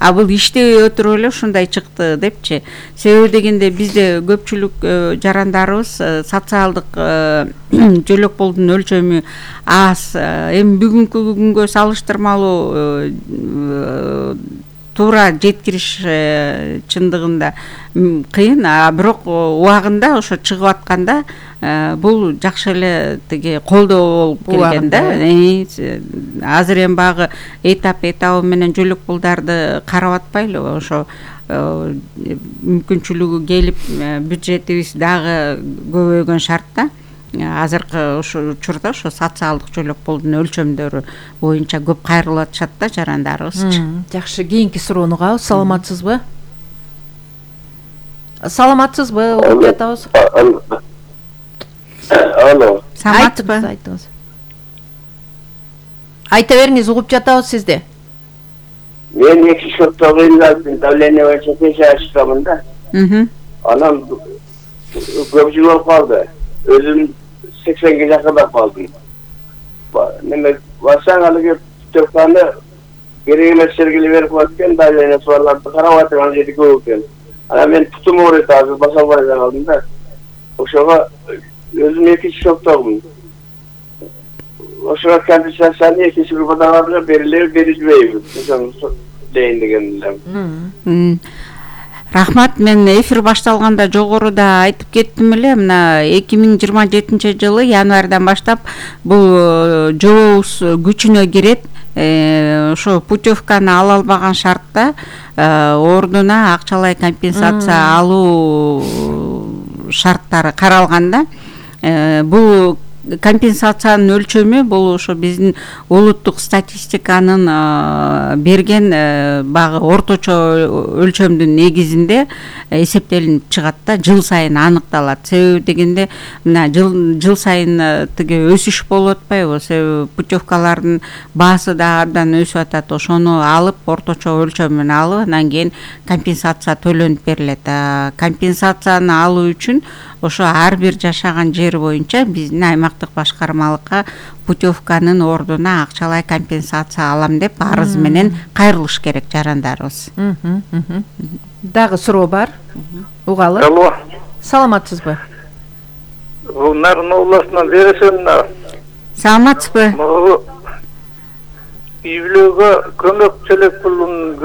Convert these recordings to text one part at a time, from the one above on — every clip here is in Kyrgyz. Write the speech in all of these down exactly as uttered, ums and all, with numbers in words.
а бул иштебей отуруп эле ушундай чыкты депчи. Себеби дегенде бизде көпчүлүк жарандарыбыз социалдык жөлөк болдун өлчөмү аз. Эми бүгүнкү күнгө салыштырмалуу туура жеткириш чындыгында кыйын, а бирок убагында ошо чыгып атканда бул жакшы эле тиги колдоо болуп келген да. Азыр эми багы этап этабы менен жөлөк пулдарды карап атпайлыбы, ошо мүмкүнчүлүгү келип бюджетибиз дагы көбөйгөн шартта азыркы ошо учурда ошо социалдык жөлөк пулдун өлчөмдөрү боюнча көп кайрылып атышат да жарандарыбыз. Жакшы, кийинки суроону угабыз. Саламатсызбы? Саламатсызбы? Угуп жатабыз. Алло. Саламатсызбы? Айтыңыз. Айта бериңиз, угуп жатабыз сизди. Мен эки шоттогу илдин давление боюнча текшерүү ачкамын да. Анан көп жыл болуп калды. Өзүм сексенге жакындап калдым. Неме барсаң алыгы путевканы керек эмес жерге берип коет давление суарларды карап атырган жери көп экен. Анан мен путум ооруйт, азыр баса албай калдым да. Ошого өзүм экинчи шоктогумун. Ошого компенсацияны экинчи группадагыларга берилеби, берилбейби? Ошону дейин деген элем. Рахмат, мен эфир башталганда жогоруда айтып кеттим эле, мына эки миң жыйырма жетинчи жылы январдан баштап бул жобобуз күчүнө кирет. Ошо путевканы ала албаган шартта ордуна акчалай компенсация алуу шарттары каралганда, бул компенсациянын өлчөмү бул ошо биздин улуттук статистиканын берген багы орточо өлчөмдүн негизинде эсептелинип чыгат да, жыл сайын аныкталат. Себеби дегенде мына жыл жыл сайын тиги өсүш болуп атпайбы? Себеби путевкалардын баасы да абдан өсүп атат. Ошону алып орточо өлчөмүн алып, анан кийин компенсация төлөнүп берилет. Компенсацияны алуу үчүн ошо ар бир жашаган жер боюнча биздин аймактык башкармалыкка путевканын ордуна акчалай компенсация алам деп арыз менен кайрылыш керек жарандарыбыз. Дагы суроо бар. Угалы. Алло. Саламатсызбы? Нарын областынан бересен. Саламатсызбы? Үй-бүлөгө көмөк төлөп пулун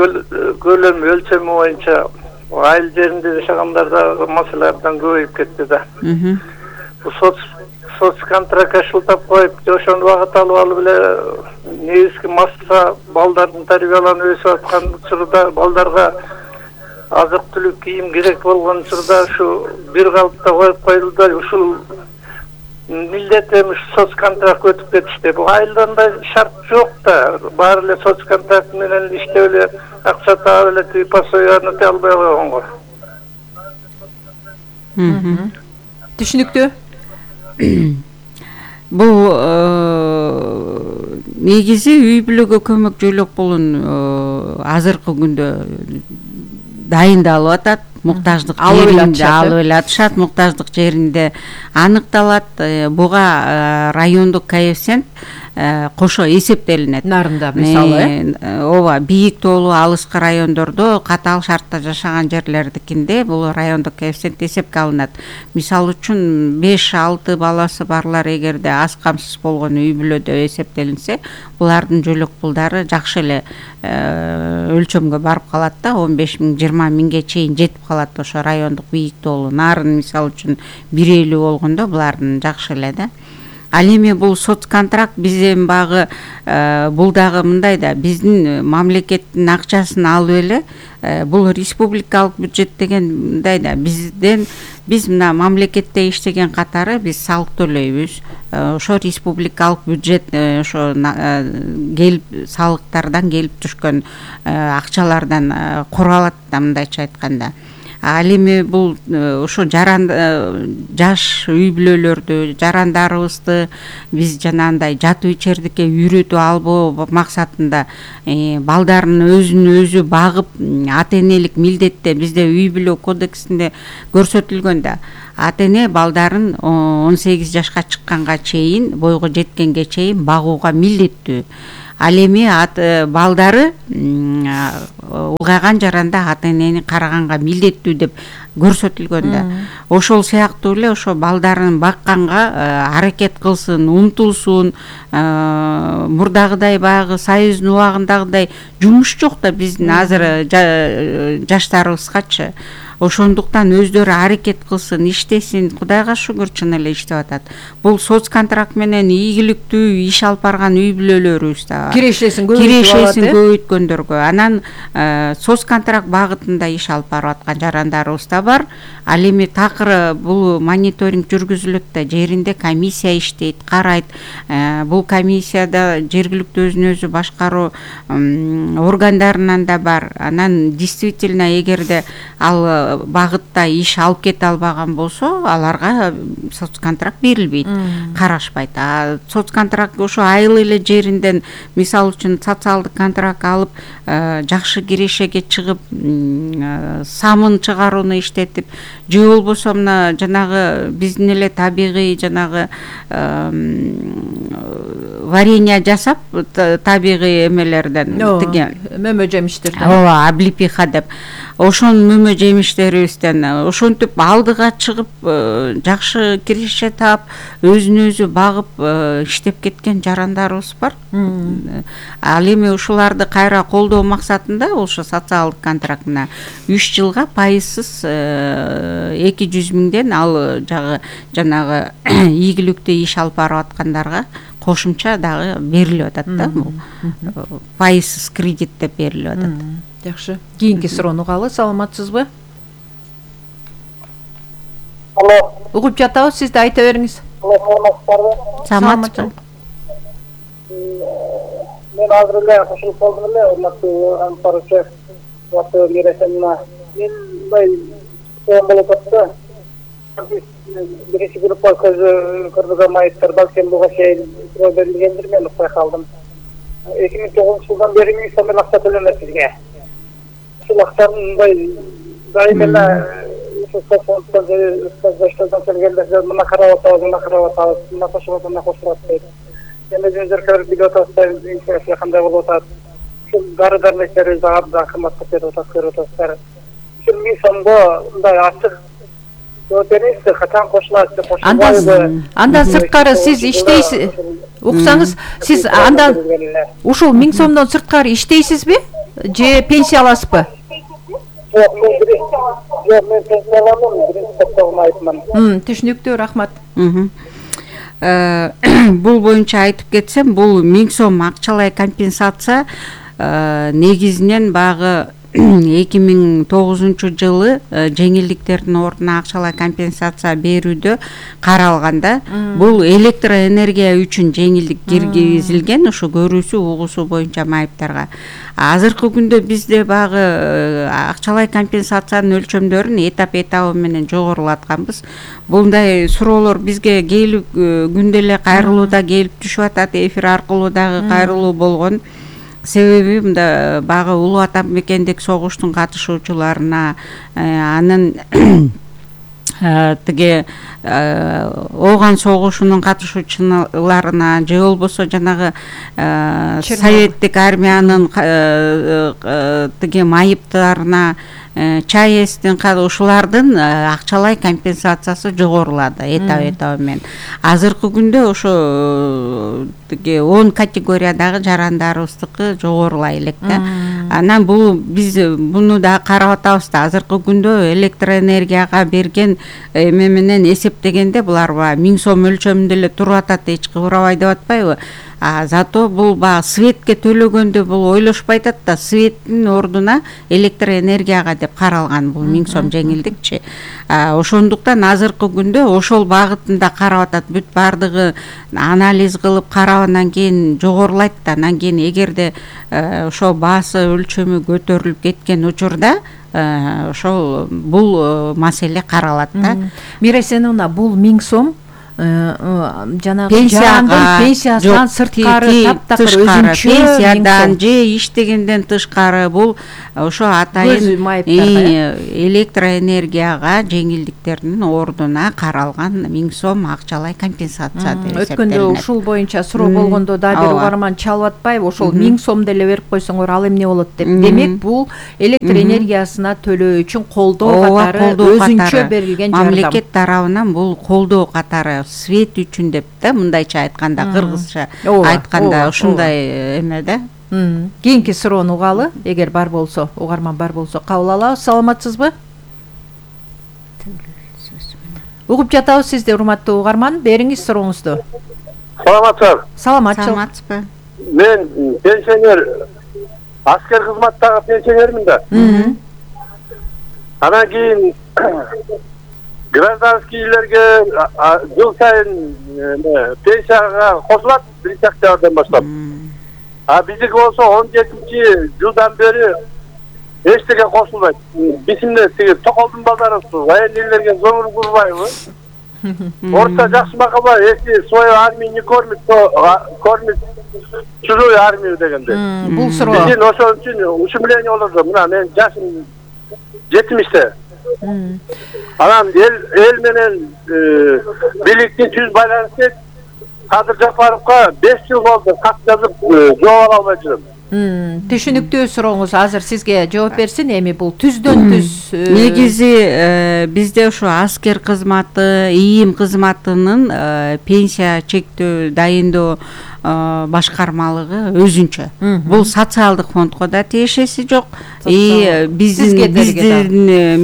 көлөмү өлчөмү боюнча айыл жеринде жашагандарда маселелерден көбөйүп кетти да. Соц соцконтракт шылтап коюп, ошону багыт алып алып эле негизги масса балдардын тарбияланып өсүп аткан учурда балдарга азык-түлүк кийим керек болгон учурда ушу бир калыпта коюп коюлду да, ушул милдет эми соцконтракт өтүп кетишти. Бул айылданда шарт жок да, баары эле соцконтракт менен иштеп эле акча таап эле тиги пособияны өтөй албай койгонго. Түшүнүктүү. Бул негизи үй бүлөгө көмөк жөлөк пулун азыркы күндө дайындалып атат. Муктаждык жеринде алып эле атышат, муктаждык жеринде аныкталат. Буга райондук коэффициент кошо эсептелинет. Нарында мисалы, ооба, бийик тоолуу алыскы райондордо катаал шартта жашаган жерлердикинде бул райондук коэффициент эсепке алынат. Мисалы үчүн беш алты баласы барлар эгерде аз камсыз болгон үй бүлөдө эсептелинсе, булардын жөлөк пулдары жакшы эле өлчөмгө барып калат да, он беш миң жыйырма миңге чейин жетип калат. Ошо райондук бийик тоолуу нарын мисалы үчүн бир элүү болгондо булардын жакшы эле да. Ал эми бул соцконтракт биз эми багы бул дагы мындай да, биздин мамлекеттин акчасын алып эле бул республикалык бюджет деген мындай да, бизден биз мына мамлекетте иштеген катары биз салык төлөйбүз. Ошо республикалык бюджет ошо келип салыктардан келип түшкөн акчалардан куралат да, мындайча айтканда. Ал эми бул ошо жаран жаш үй бүлөлөрдү, жарандарыбызды биз жанагындай жатуу ичердикке үйрөтүп албоо максатында балдарын өзүн өзү багып, ата-энелик милдетте бизде үй бүлө кодексинде көрсөтүлгөн да. Ата-эне балдарын он сегиз жашка чыкканга чейин, бойго жеткенге чейин багууга милдеттүү. Ал эми балдары улгайган жаранда ата энени караганга милдеттүү деп көрсөтүлгөн да. Ошол сыяктуу эле ошо балдарын бакканга аракет кылсын, умтулсун. Мурдагыдай баягы союздун убагындагыдай жумуш жок да биздин азыр жаштарыбызгачы. Ошондуктан өздөрү аракет кылсын, иштесин. Кудайга шүгүр, чын эле иштеп атат. Бул соц контракт менен ийгиликтүү иш алып барган үй бүлөлөрүбүз да бар. Кирешесин Кирешесин көбөйткөндөргө, анан соц контракт багытында иш алып барып аткан жарандарыбыз да бар. Ал эми такыр бул мониторинг жүргүзүлөт да, жеринде комиссия иштейт, карайт. Бул комиссияда жергиликтүү өзүн өзү башкаруу органдарынан да бар. Анан действительно эгерде ал багытта иш алып кете албаган болсо, аларга соц контракт берилбейт, карашпайт. А соц контракт ошо айыл эле жеринден, мисалы үчүн социалдык контракт алып, жакшы кирешеге чыгып, самын чыгарууну иштетип, же болбосо мына жанагы биздин эле табигый жанагы варенье жасап, табигый эмелерден тиги мөмө жемиштерден. Ооба, облепиха деп. Ошон мөмө жемиштерибизден ошентип алдыга чыгып, жакшы киреше таап, өзүн өзү багып иштеп кеткен жарандарыбыз бар. Ал эми ушуларды кайра колдоо максатында ошо социалдык контракт мына үч жылга пайызсыз эки жүз миңден ал жагы жанагы ийгиликтүү иш алып барып аткандарга кошумча дагы берилип атат да. Бул пайызсыз кредит деп берилип атат. Жакшы. Кийинки суроону угалы. Саламатсызбы? Алло. Угуп жатабыз, сиз да айта бериңиз. Саламатсызбы? Мен азыр эле кошулуп калдым эле, урматтуу анпарчы, урматтуу Миресемина. Мен мындай суроом болуп атты. Биринчи группа көрбөгөн майыптар балким буга чейин суроо берилгендир, мен укпай калдым. эки миң тогузунчу жылдан бери миң сомдон акча төлөнөт бизге. Ушул акчаны мындай дайым эле соцфонддон же баштардан келгендер мына карап атабыз, мына карап атабыз, мына кошуп атабыз, мына кошуп атабыз дейт. Эми өзүңүздөр көрүп билип атасыздар, инфляция кандай болуп атат. Ушул дары дармектерибизди абдан кымбатка берип атат, көрүп атасыздар. Ушул миң сомго мындай ачык жооп бериңизчи, качан кошулат деп кошулбайбы? Андан сырткары сиз иштейсиз, уксаңыз, сиз андан ушул миң сомдон сырткары иштейсизби? Же пенсия аласызбы? Жок, мен жок, мен пенсия аламын, биринчи топтогун айтман. Түшүнүктүү, рахмат. Бул боюнча айтып кетсем, бул миң сом акчалай компенсация негизинен багы эки миң тогузунчу жылы жеңилдиктердин ордуна акчалай компенсация берүүдө каралганда, бул электроэнергия үчүн жеңилдик киргизилген, ошо көрүүсү угуусу боюнча майыптарга. Азыркы күндө бизде багы акчалай компенсациянын өлчөмдөрүн этап этабы менен жогорулатканбыз. Булдай суроолор бизге келип күндө эле кайрылууда келип түшүп атат, эфир аркылуу дагы кайрылуу болгон. Себеби мында багы Улуу Ата мекендик согуштун катышуучуларына, анын тиги Ооган согушунун катышуучуларына, же болбосо жанагы советтик армиянын тиги майыптарына, ЧАЭСтин ушулардын акчалай компенсациясы жогорулады этап этабы менен. Азыркы күндө ошо тиги он категориядагы жарандарыбыздыкы жогорулай элек да. Анан бул биз муну да карап атабыз да. Азыркы күндө электроэнергияга берген эме менен эсептегенде булар миң сом өлчөмүндө эле туруп атат, эч кыбырабай деп атпайбы? А зато бул ба светке төлөгөндө бул ойлошпай атат да, светтин ордуна электроэнергияга деп каралган бул миң сом жеңилдикчи. Ошондуктан азыркы күндө ошол багытында карап атат, бүт бардыгы анализ кылып карагандан кийин жогорулайт да. Анан кийин эгерде ошо баасы өлчөмү көтөрүлүп кеткен учурда ошол бул маселе каралат да. Миресенуна, бул миң сом жанагы пенсияга пенсиясынан сырткары таптакыр өзүнчө пенсиядан же иштегенден тышкары бул ошо атайын электроэнергияга жеңилдиктердин ордуна каралган миң сом акчалай компенсация деп эсептелет. Өткөндө ушул боюнча суроо болгондо да бир угарман чалып атпайбы, ошол миң сом деле берип койсоңор ал эмне болот деп. Демек бул электр энергиясына төлөө үчүн колдоо катары өзүнчө берилген жардам. Мамлекет тарабынан бул колдоо катары свет үчүн деп да, мындайча айтканда, кыргызча айтканда ушундай эме да. Кийинки суроону угалы, эгер бар болсо, угарман бар болсо кабыл алабыз. Саламатсызбы? Угуп жатабыз сизди, урматтуу угарман. Бериңиз сурооңузду. Саламатсызбы? Саламатсызбы? Мен пенсионер, аскер кызматтагы пенсионермин да. Анан кийин гражданскийлерге жыл сайын пенсияга кошулат биринчи октябрдан баштап. А биздики болсо он жетинчи жылдан бери эчтеке кошулбайт. Бизимде тиги Токолдун базары военныйлерге зоңур курбайбы? Орта жакшы макала, если свою армию не кормит, то кормит чужую армию дегенде. Бул суроо. Биздин ошон үчүн ушумление болду. Мына мен жашым жетимиште. Анан эл эл менен бийликти түз байланыштайт. Кадыр Жапаровго беш жыл болду кат жазып жооп ала албай жүрөм. Түшүнүктүү сурооңуз, азыр сизге жооп берсин. Эми бул түздөн түз негизи бизде ушу аскер кызматы, ийим кызматынын пенсия чектөө дайындоо башкармалыгы өзүнчө. Бул социалдык фондго да тиешеси жок, и биздин биздин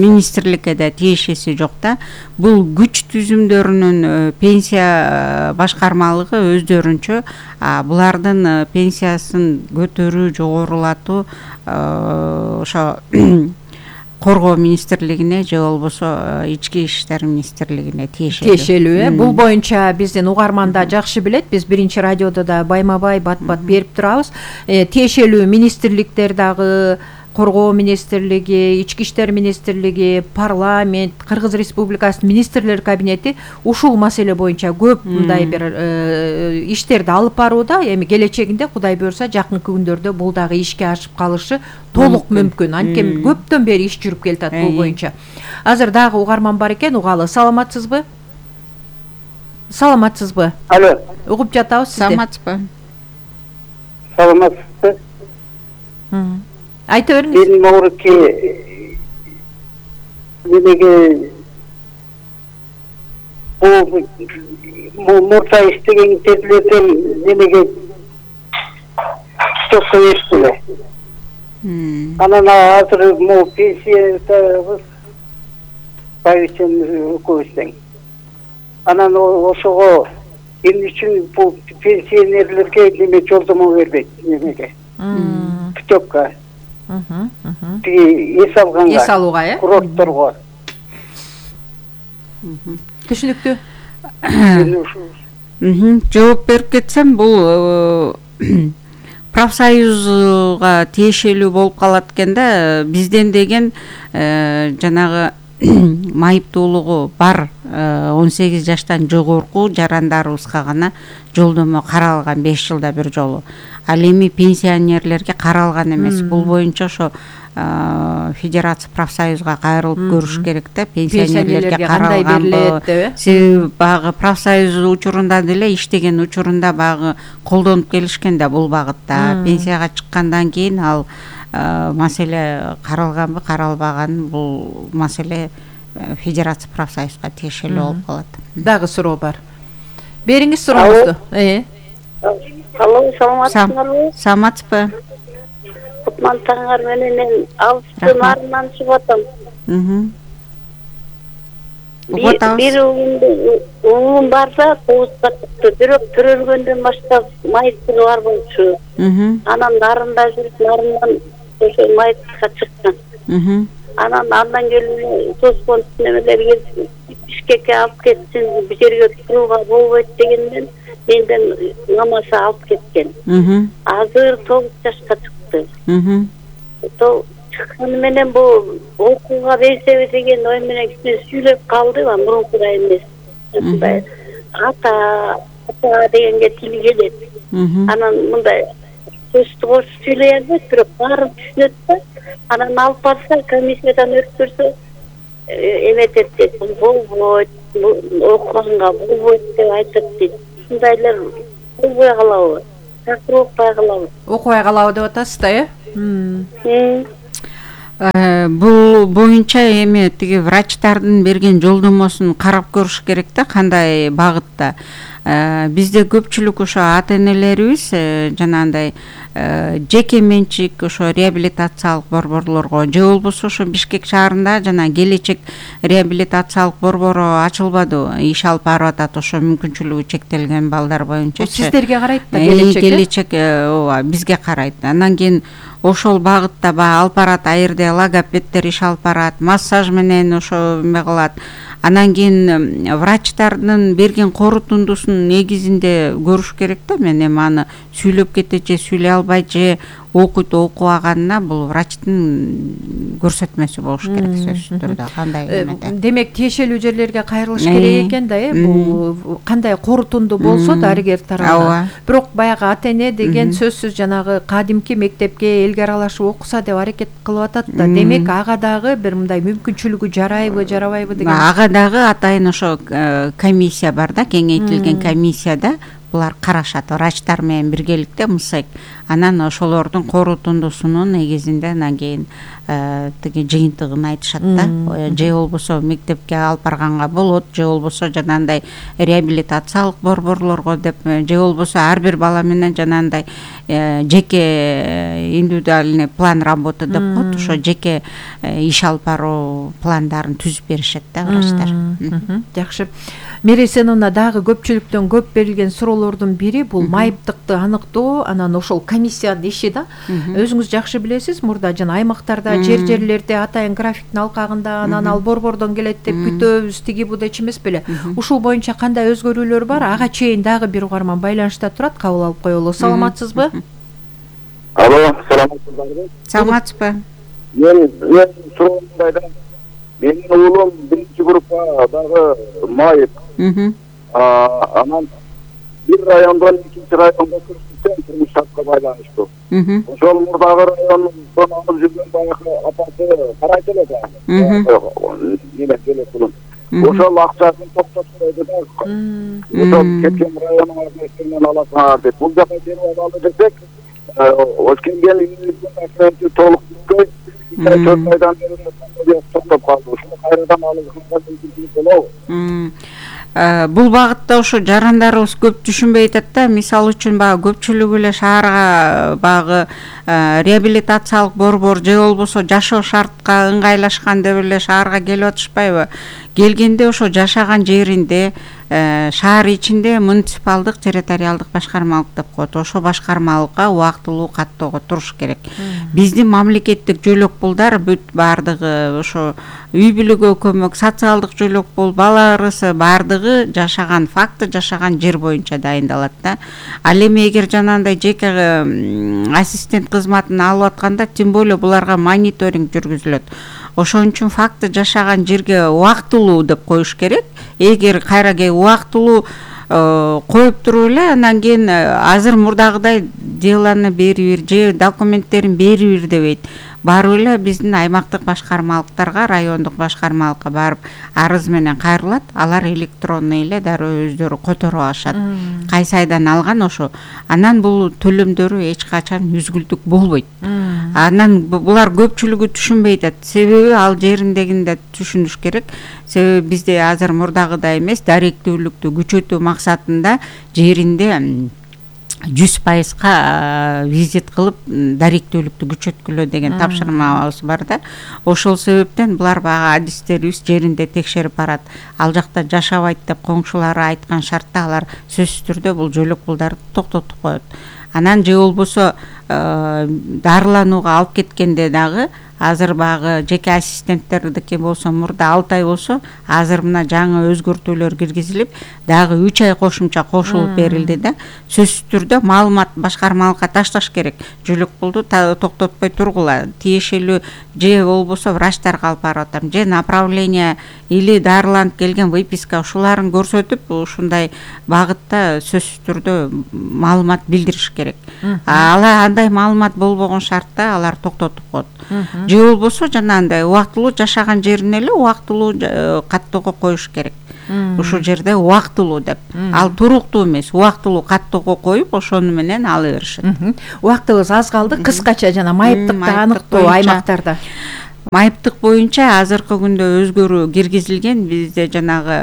министрликке да тиешеси жок да. Бул күч түзүмдөрүнүн пенсия башкармалыгы өздөрүнчө булардын пенсиясын көтөрүү, жогорулатуу ошо Коргоо министрлигине же болбосо ички иштер министрлигине тиешелүү. Тиешелүү. Бул боюнча биздин угарман да жакшы билет. Биз биринчи радиодо да байма-бай, бат-бат берип турабыз. Тиешелүү министрликтер дагы, Коргоо министрлиги, ички иштер министрлиги, парламент, Кыргыз Республикасынын министрлер кабинети ушул маселе боюнча көп мындай бир иштерди алып барууда. Эми келечегинде Кудай буйрса жакынкы күндөрдө бул дагы ишке ашып калышы толук мүмкүн. Анткени көптөн бери иш жүрүп келатат бул боюнча. Азыр дагы угарман бар экен, угалы. Саламатсызбы? Саламатсызбы? Алло. Угуп жатабыз сизди. Саламатсызбы? Саламатсызбы? Айта бериңиз. Мен Мауруке немеге бул мурда иштеген терлерден немеге стопка бериптиле. Анан азыр могу пенсиядабыз правительный өкмөттөн. Анан ошого эмне үчүн бул пенсионерлерге неме жолдомо бербейт немеге? Путевка. Тиги эс алганга. Эс алууга, э? Курортторго. Түшүнүктүү. Жооп берип кетсем, бул профсоюзга тиешелүү болуп калат экен да. Бизден деген жанагы майыптуулугу бар он сегиз жаштан жогорку жарандарыбызга гана жолдомо каралган беш жылда бир жолу. Ал эми пенсионерлерге каралган эмес. Бул боюнча ошо федерация профсоюзга кайрылып көрүш керек да, пенсионерлерге каралганбы. Себеби багы профсоюз учурунда деле иштеген учурунда багы колдонуп келишкен да бул багытта. Пенсияга чыккандан кийин ал маселе каралганбы, каралбаган, бул маселе федерация профсоюзга тиешелүү болуп калат. Дагы суроо бар. Бериңиз сурооңузду. Э. Алло, саламатсызбы? Саламатсызбы? Кутман таңар менен мен алыстын арынан чыгып атам. Бир угум барса кубузга чыкты, бирок төрөлгөндөн баштап майыптыгы бар болчу. Анан нарында жүрүп, нарындан ошо майыптыкка чыккан. Анан андан келип тоскон немелер келип Бишкекке алып кетсин, бир жерге турууга болбойт дегенден менден намаса алып кеткен. Азыр тогуз жашка чыкты. Чыкканы менен бу окууга берсеби деген ой менен кичине сүйлөп калды, мурункудай эмес. ата ата дегенге тили келет. Анан мындай сөздү орусча сүйлөй албайт, бирок баарын түшүнөт да. Анан алып барса, комиссиядан өткөрсө эметет дейт. Бул болбойт, окуганга болбойт деп айтат дейт. Ушундайлар болбой калабы? Такыр окубай калабы? Окубай калабы деп атасыз да, э? Бул боюнча эми тиги врачтардын берген жолдомосун карап көрүш керек да, кандай багытта. Бизде көпчүлүк ошо ата-энелерибиз жанагындай жеке менчик ошо реабилитациялык борборлорго же болбосо ошо Бишкек шаарында жана келечек реабилитациялык борбору ачылбады, иш алып барып атат ошо мүмкүнчүлүгү чектелген балдар боюнча. Сиздерге карайт да келечек? Келечек ооба бизге карайт. Андан кийин ошол багытта баягы алып барат, айырда логопеддер иш алып барат, массаж менен ошо эме кылат. Анан кийин врачтардын берген корутундусун негизинде көрүш керек да. Мен эми аны сүйлөп кетет же сүйлөй албайт же окуйт окубаганына бул врачтын көрсөтмөсү болуш керек сөзсүз түрдө. Кандай эмеде? Демек тиешелүү жерлерге кайрылыш керек экен да, э? Бул кандай корутунду болсо дарыгер тарабынан. Бирок баягы ата-эне деген сөзсүз жанагы кадимки мектепке элге аралашып окуса деп аракет кылып атат да. Демек ага дагы бир мындай мүмкүнчүлүгү жарайбы, жарабайбы деген. Ага дагы атайын ошо комиссия бар да, кеңейтилген комиссияда булар карашат, врачтар менен биргеликте МСЭК. Анан ошолордун корутундусунун негизинде анан кийин тиги жыйынтыгын айтышат да. Же болбосо мектепке алып барганга болот, же болбосо жанагындай реабилитациялык борборлорго деп, же болбосо ар бир бала менен жанагындай жеке индивидуальный план работы деп коет, ошо жеке иш алып баруу пландарын түзүп беришет да врачтар. Жакшы. Мерей Семеновна, дагы көпчүлүктөн көп берилген суроолордун бири бул майыптыкты аныктоо, анан ошол комиссиянын иши да. Өзүңүз жакшы билесиз, мурда жана аймактарда жер-жерлерде атайын графиктин алкагында анан ал борбордон келет деп күтөбүз, тиги бу дечи эмес беле. Ушул боюнча кандай өзгөрүүлөр бар? Ага чейин дагы бир угарман байланышта турат, кабыл алып коелу. Саламатсызбы? Алло, саламатсызбы? Саламатсызбы? Мен мен суроомдайда менин уулум биринчи группа дагы майып. Анан бир райондон экинчи районго көчүп турмуш шартка байланыштуу. Ошол мурдагы райондон алып жүргөн баягы апасы карайт эле да. Эме келет улум. Ошол акчасын токтоп койду да. Ошол кеткен районуңа менен аласыңар деп. Бул жака берип алалы десек, Өскенген үйүнүн толук бүткөй, төрт айдан бери токтоп калды. Ушуну кайрадан алууга мүмкүнчүлүк болобу? Бул багытта ошо жарандарыбыз көп түшүнбөй атат да. Мисалы үчүн баягы көпчүлүгү эле шаарга баягы реабилитациялык борбор же болбосо жашоо шартка ыңгайлашкан деп эле шаарга келип атышпайбы? Келгенде ошо жашаган жеринде, шаар ичинде муниципалдык территориалдык башкармалык деп коет. Ошо башкармалыкка убактылуу каттоого туруш керек. Биздин мамлекеттик жөлөк пулдар бүт бардыгы ошо үй бүлөгө көмөк, социалдык жөлөк пул, бала ырысы бардыгы жашаган факты, жашаган жер боюнча дайындалат да. Ал эми эгер жанагындай жеке ассистент кызматын алып атканда, тем более буларга мониторинг жүргүзүлөт. Ошон үчүн факты жашаган жерге убактылуу деп коюш керек. Эгер кайраге убактылуу коюп туруп эле анан кийин азыр мурдагыдай деланы бери бир же документтерин бери бир дебейт. Барып эле биздин аймактык башкармалыктарга, райондук башкармалыкка барып арыз менен кайрылат. Алар электронный эле дароо өздөрү которуп алышат. Кайсы айдан алган ошо. Анан бул төлөмдөрү эч качан үзгүлтүк болбойт. Анан булар көпчүлүгү түшүнбөй атат. Себеби ал жериндегинде түшүнүш керек. Себеби бизде азыр мурдагыдай эмес, даректүүлүктү күчөтүү максатында жеринде жүз пайызга визит кылып даректүүлүктү күчөткүлө деген тапшырмабыз бар да. Ошол себептен булар баягы адистерибиз жеринде текшерип барат. Ал жакта жашабайт деп коңшулары айткан шартта алар сөзсүз түрдө бул жөлөк пулдарды токтотуп коет. Анан же болбосо дарыланууга алып кеткенде дагы азыр багы жеке ассистенттердики болсо мурда алты ай болсо, азыр мына жаңы өзгөртүүлөр киргизилип, дагы үч ай кошумча кошулуп берилди да. Сөзсүз түрдө маалымат башкармалыкка ташташ керек. Жөлөкпулду токтотпой тургула. Тиешелүү же болбосо врачтарга алып барып атам, же направление или дарыланып келген выписка ушуларын көрсөтүп, ушундай багытта сөзсүз түрдө маалымат билдириш керек. Ала андай маалымат болбогон шартта алар токтотуп коет. Же болбосо жанагындай убактылуу жашаган жерине эле убактылуу каттоого коюш керек. Ушул жерде убактылуу деп. Ал туруктуу эмес, убактылуу каттоого коюп, ошону менен ала беришет. Убактыбыз аз калды. Кыскача жана майыптыкты аныктоо аймактарда. Майыптык боюнча азыркы күндө өзгөрүү киргизилген. Бизде жанагы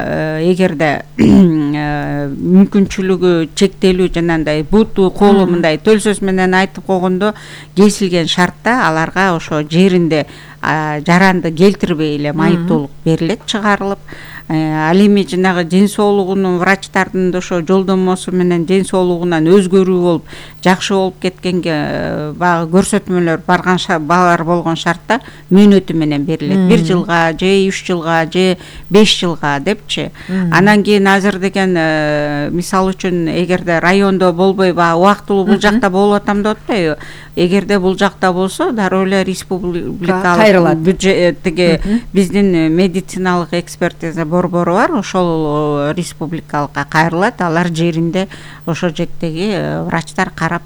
эгерде мүмкүнчүлүгү чектелүү жанагындай буту, колу мындай төл сөз менен айтып койгондо кесилген шартта аларга ошо жеринде жаранды келтирбей эле майыптуулук берилет, чыгарылып. Ал эми жанагы ден соолугунун врачтардын да ошо жолдомосу менен ден соолугунан өзгөрүү болуп, жакшы болуп кеткенге багы көрсөтмөлөр барган балар болгон шартта мөөнөтү менен берилет. бир жылга же үч жылга же беш жылга депчи. Анан кийин азыр деген мисалы үчүн эгерде райондо болбой ба убактылуу бул жакта болуп атам деп атпайбы? Эгерде бул жакта болсо дароо эле республикалык бюджеттиги биздин медициналык экспертиза борбору бар, ошол республикалыкка кайрылат, алар жеринде ошо жектеги врачтар карап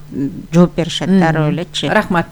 жооп беришет дароо элечи. Рахмат.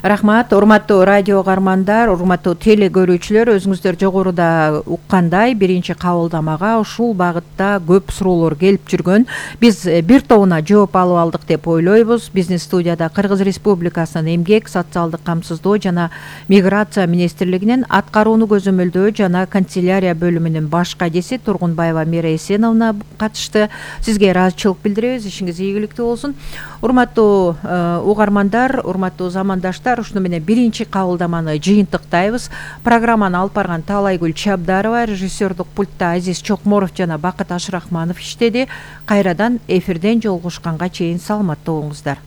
Рахмат, урматтуу радио угармандар, урматтуу теле көрүүчүлөр, өзүңүздөр жогоруда уккандай биринчи кабылдамага ушул багытта көп суроолор келип жүргөн. Биз бир тобуна жооп алып алдык деп ойлойбуз. Биздин студияда Кыргыз Республикасынын эмгек, социалдык камсыздоо жана миграция министрлигинин аткарууну көзөмөлдөө жана канцелярия бөлүмүнүн баш кадиси Тургунбаева Мира Эсеновна катышты. Сизге ыраазычылык билдиребиз, ишиңиз ийгиликтүү болсун. Урматтуу угармандар, урматтуу замандаштар, ушуну менен биринчи кабылдаманы жыйынтыктайбыз. Программаны алып барган Таалайгүл Чабдарова, режиссердук пультта Азиз Чокморов жана Бакыт Ашрахманов иштеди. Кайрадан эфирден жолугушканга чейин саламатта болуңуздар.